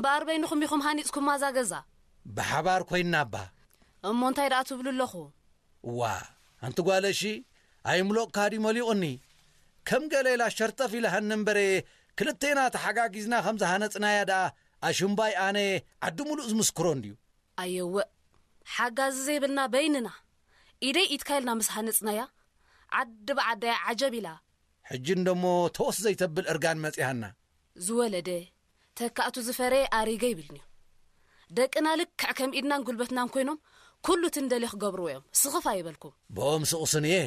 በኣር በይንኹም ኢኹም ሃኒጽኩማ እዛ ገዛ። ብሓባር ኮይንና እባ። እሞ እንታይ ደኣ ትብሉ ኣለኹ? እዋ፣ ኣንቲ ጓለሺ፣ ኣይምሎቕካ ድዩ መሊቑኒ? ከም ገለ ኢላ ሸርጠፍ ኢላ ሃኒ እምበረ፣ ክልቴና ተሓጋጊዝና ከም ዝሃነጽናያ ደኣ ኣሽምባይ ኣነ ዓዲ ሙሉእ ዝምስክሮ እንድዩ። ኣየወ፣ ሓጋዚ ዘይብልና በይንና፣ ኢደይ ኢድካ ኢልና ምስ ሃነጽናያ፣ ዓዲ ብዓዳያ ዓጀብ ኢላ። ሕጂ እንደሞ ተወስ ዘይተብል እርጋን መጺሃና። ዝወለደ፣ ተካእቱ ዝፈረየ ኣሪገ ይብልንዩ። ደቅና ልክዕ ከም ኢድናን ጉልበትናን ኮይኖም፣ ኩሉ እቲ እንደልዮ ክገብርዎ እዮም። ስኽፍ ኣይበልኩም። ብኦም ስቑስን እየ።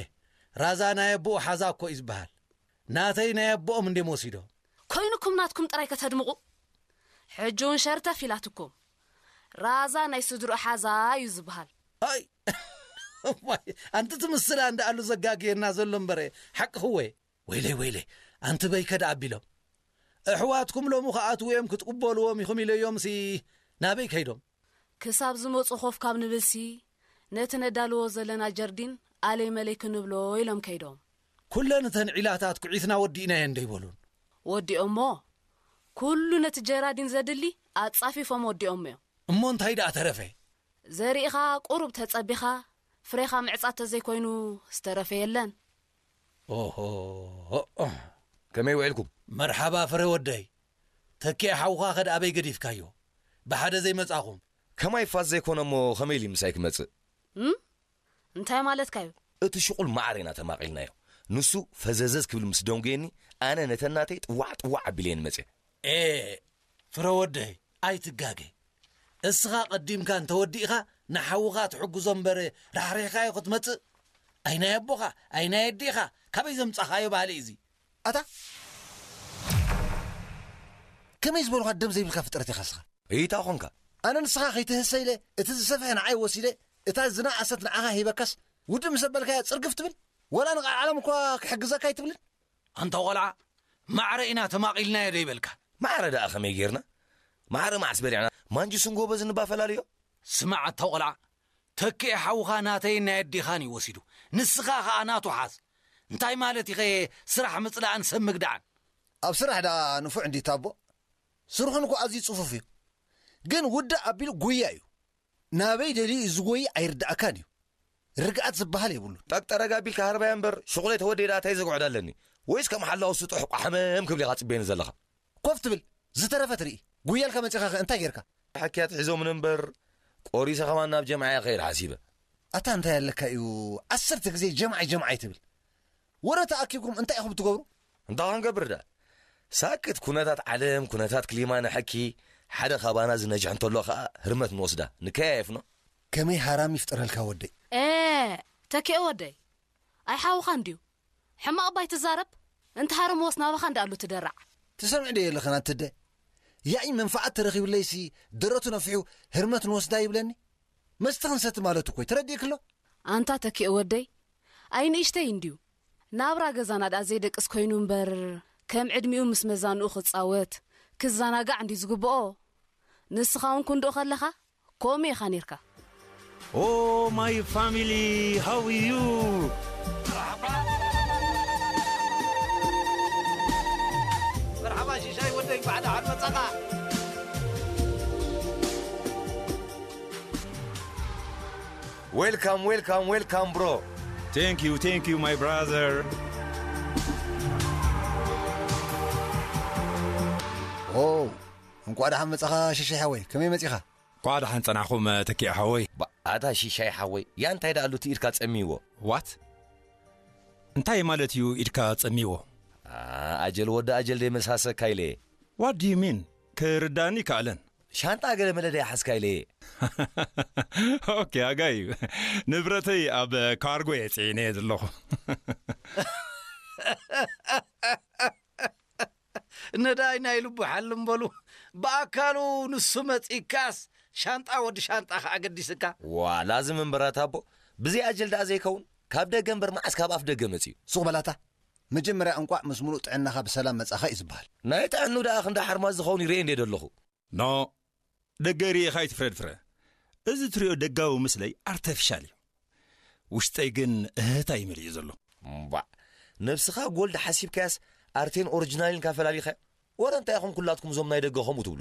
ራዛ ናይ ኣቦኡ ሓዛ እኮ እዩ ዝበሃል። ናተይ ናይ ኣቦኦም እንድዮም ወሲዶ። ኮይኑኩም ናትኩም ጥራይ ከተድምቑ። ሕጂ እውን ሸርተፍ ኢላትኩም። ራዛ ናይ ስድርኡ ሓዛ እዩ ዝበሃል። ኣይ፣ ዋይ፣ ኣንቲ ትምስላ እንዳ ኣሉ ዘጋግየና ዘሎ እምበረ፣ ሓቅኽወ። ወይለይ፣ ወይለይ፣ ኣንቲ በይከ ደኣ ኣቢሎም። ኣሕዋትኩም ሎሚ ክኣትዉ እዮም ክትቕበልዎም ኢኹም ኢለዮምሲ ናበይ ከይዶም? ክሳብ ዝመጹ ኮፍ ካብ ንብልሲ፣ ነቲ ነዳልዎ ዘለና ጀርዲን ኣለይ መለይ ክንብሎ ኢሎም ከይዶም። ኩለን እተን ዒላታት ኩዒትና ወዲእናየን ዶ ይበሉን? ወዲኦሞ። ኩሉ ነቲ ጀራዲን ዘድሊ ኣጻፊፎም ወዲኦሞ እዮም። እሞ እንታይ ደኣ ተረፈ? ዘሪእኻ ቁሩብ ተጸቢኻ፣ ፍሬኻ ምዕጻድ ተዘይኮይኑ ዝተረፈ የለን። ኦሆ፣ ከመይ ውዒልኩም? መርሓባ ፍረ ወደይ። ተኪኤ ሓውኻ ከ ኣበይ ገዲፍካዮ? ብሓደ ዘይመጻኹም? ከማይ ፋስ ዘይኮነ እሞ ከመይ ኢሉ ምሳይ ክመጽእ? እም? እንታይ ማለትካ እዩ? እቲ ሽቁል ማዕረ ኢና ተማቒልናዮ። ንሱ ፈዘዘዝ ክብል ምስ ደንጉየኒ፣ ኣነ ነተን ናተይ ጥዋዕ ጥዋዕ ኣቢለየን መጽየ። ኤ፣ ፍረ ወደይ፣ ኣይትጋገ። እስኻ ቀዲምካ እንተወዲእኻ፣ ንሓውኻ ትሕግዞ እምበር፣ ራሕሪሕካዮ ክትመጽእ? ኣይ ናይ ኣቦኻ፣ ኣይ ናይ ኣዴኻ፣ ካበይ ዘምጻኻዮ ባህሊ እዚ? ኣታ፣ ከመይ ዝበልኻ ደም ዘይብልካ ፍጥረት ኢኻ እስኻ? እይታ ኾንካ? ኣነ ንስኻ ከይትህሰ ኢለ፣ እቲ ዝሰፍሐ ንዓይ ወሲደ፣ እታ ዝነኣሰት ንዓኻ ሂበካስ፣ ውድእ ምስ ኣበልካያ ጽርግፍ ትብል? ወላ ንቃልዓለም እኳ ክሕግዘካ ኣይትብልን? ኣንታ ቆልዓ፣ ማዕረ ኢና ተማቒልናዮ ዶ ይበልካ? ማዕረ ደኣ ከመይ ጌርና? ማዕረ መዓስ በሊዕና? ማንጁስን ጎበዝን እባ ፈላልዮ። ስማዕ ኣታ ቆልዓ፣ ተኪኤ ሓውኻ ናተይን ናይ ኣዴኻን እዩ ወሲዱ። ንስኻ ኸኣ ናቱ ሓዝ። እንታይ ማለት ኢኸ ስራሕ ምጽላእን ሰብ ምግዳዕን? ኣብ ስራሕ ደኣ ንፉዕ እንዲ ታቦ? ስርሑን እኮ ኣዝዩ ጽፉፍ እዩ። ግን ውዳእ ኣቢሉ ጉያ እዩ። ናበይ ደልዩ እዩ ዝጎይ ኣይርድኣካን እዩ። ርግኣት ዝበሃል የብሉን። ጠቅጠረግ ኣቢልካ ሃርባያ እምበር፣ ሽቑለይ ተወደይ ደኣ እንታይ ዘግዕዶ ኣለኒ? ወይስ ከም ሓላው ስጡሕ ቋሕመም ክብል ኢኻ ጽበየኒ ዘለኻ? ኮፍ ትብል፣ ዝተረፈ ትርኢ። ጉያልካ መጺኻ ከ እንታይ ጌርካ? ሓክያት ሒዞምን እምበር፣ ቆሪሰ ከማን ናብ ጀምዓ እየ ክኸይድ ሓሲበ። ኣታ እንታይ ኣለካ እዩ፣ ዓሰርተ ግዜ ጀምዓይ ጀምዓይ ትብል? ወረ ተኣኪብኩም እንታይ ኢኹም ትገብሩ? እንታይ ክንገብር ደኣ? ሳክት ኩነታት ዓለም፣ ኩነታት ክሊማ ንሐኪ፣ ሓደ ካባና ዝነጅሕ እንተሎ ኸኣ ህርመት ንወስዳ፣ ንከያየፍኖ። ከመይ ሃራም ይፍጠረልካ ወደይ? ኤ፣ ተኪኤ ወደይ፣ ኣይ ሓውኻ እንድዩ። ሕማቕ እባ ኣይትዛረብ። እንተ ሃረምዎስ ናባኻ እንዳኣሉ ትደራዕ። ትሰምዕ ዶ የለኽን ኣንትደ? ያኢ መንፈዓት ተረኺብለይሲ ደረቱ ነፊሑ ህርመት ንወስዳ ይብለኒ። መስተ ክንሰቲ ማለቱ እኮ እዩ። ተረዲእክሎ? ኣንታ ተኪኤ ወደይ፣ ኣይ ንእሽተይ እንድዩ። ናብራ ገዛና ደኣ ዘይደቅስ ኮይኑ እምበር፣ ከም ዕድሚኡ ምስ መዛንኡ ክጻወት፣ ክዘናጋዕ እንድዩ ዝግብኦ። ንስኻ እውን ክንድኡ ከለኻ፣ ከምኡ ኢኻ ኔርካ። Oh, my family, how are you? መርሓባ ሽሻይ ወደይ፣ እንኳዕ ደሓን መጻኻ። Welcome, welcome, welcome, bro. Thank you, thank you, my brother. ኦ፣ እንቋዕ ደሓን መጻኻ ሽሻይ ሓወይ። ከመይ መጺኻ? እንቋዕ ደሓን ጸናሕኩም፣ ተኪኤ ሓወይ። ባ-፣ ኣታ ሽሻይ ሓወይ፣ ያ እንታይ ደኣ ኣሉ እቲ ኢድካ ጸሚዎ? What? እንታይ ማለት እዩ ኢድካ ጸሚዎ? ኣ፣ ኣጀል ወዲ ኣጀል ደይ መሳሰካ ኢለ። What do you mean? ክርዳእኒ ይከኣለን። ሻንጣ ገለ መለ ደይ ሓዝካ ኢለ። ኦኬ፣ ኣጋዩ። ንብረተይ ኣብ ካርጎ እየ ጽዒነ እየ ዘለኹ። ነዳይ ናይ ልቡ ሓልም በሉ። ብኣካሉ ንሱ መጺካስ፣ ሻንጣ ወዲ ሻንጣ ከኣ ገዲስካ። ዋ፣ ላዝም እምበር ኣታ ኣቦ፣ ብዘይ ኣጀል ደኣ ዘይከውን፣ ካብ ደገ እምበር መዓስ ካብ ኣፍ ደገ መጺኡ? ሱቕ በላታ። መጀመርያ እንቋዕ ምስ ምሉእ ጥዕናኻ ብሰላም መጻኻ እዩ ዝበሃል። ናይ ጥዕኑ ደኣ ክንዲ ሓርማዝ ዝኸውን ይርኤ እንድየ ደለኹ። ኖ፣ ደገ ርኢኻ ኣይትፍረድ ፍረ። እዚ ትሪኦ ደጋዊ ምስለይ ኣርተፊሻል እዩ። ውሽጠይ ግን እህህታ እዩ መሊኡ ዘሎ። እምባዕ፣ ነብስኻ ጎልድ ሓሲብካያስ ኣርቴን ኦሪጂናልን ኢልካ ፈላሊኻዮ? ወረ እንታይ ኢኹም ኩላትኩም እዞም ናይ ደገ ከምኡ ትብሉ?